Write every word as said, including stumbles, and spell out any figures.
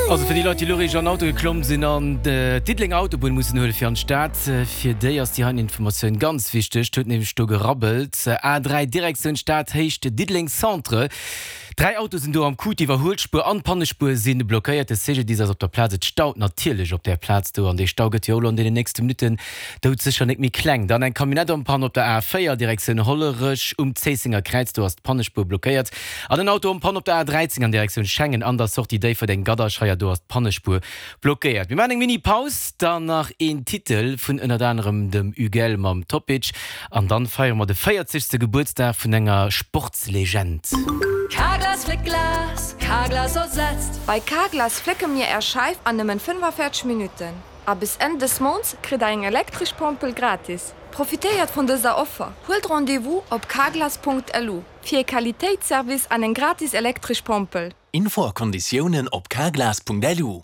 Also fir déi Leit, déi elo réischt an den Auto geklomm sinn an d'Diddelenger Autobunn mussen huele fir an d'Stad, fir déi ass déi heiten Informatioun ganz wichteg. Et huet nämlech do gerabbelt. A dräi Direktioun Stad, Héicht Diddeleng Centre. Dräi Autoe sinn do am Coup, d'Iwwerhuelspuer an d'Pannespuer si blockéiert. De C G D I S ass op der Plaz. Et staut natierlech op där Plaz do an dee Stau gëtt jo och elo an deenen nächste Minutten doudsécher net méi kleng. Dann eng Camionnette en panne op der A véier Direktioun Hollerech um Zéissenger Kräiz, do ass d'Pannespuer blockéiert. An en Auto en panne op der A dräizéng an Direktioun Schengen an der Sortie Déifferdeng Gadderscheier, do ass d'Pannespuer blockéiert. Mir maachen eng Mini Paus, dann nach een Titel vun ënnert anerem dem Ugel mam Topic an dann feiere mer de véierzegste Gebuertsdag vun enger Sportslegend. Carglass fléckt Glas, Carglass ersetzt. Bei Carglass flécke mir är Scheif an nëmmen fënnefaféierzeg Minutten. A bis Enn des Mounts kritt der eng elektresch Pompel gratis. Profitéiert vun dëser Offer. Huelt Rendez-vous op carglass Punkt L U fir Qualitéitsservice an eng gratis elektresch Pompel. Info a Konditiounen op carglass Punkt L U.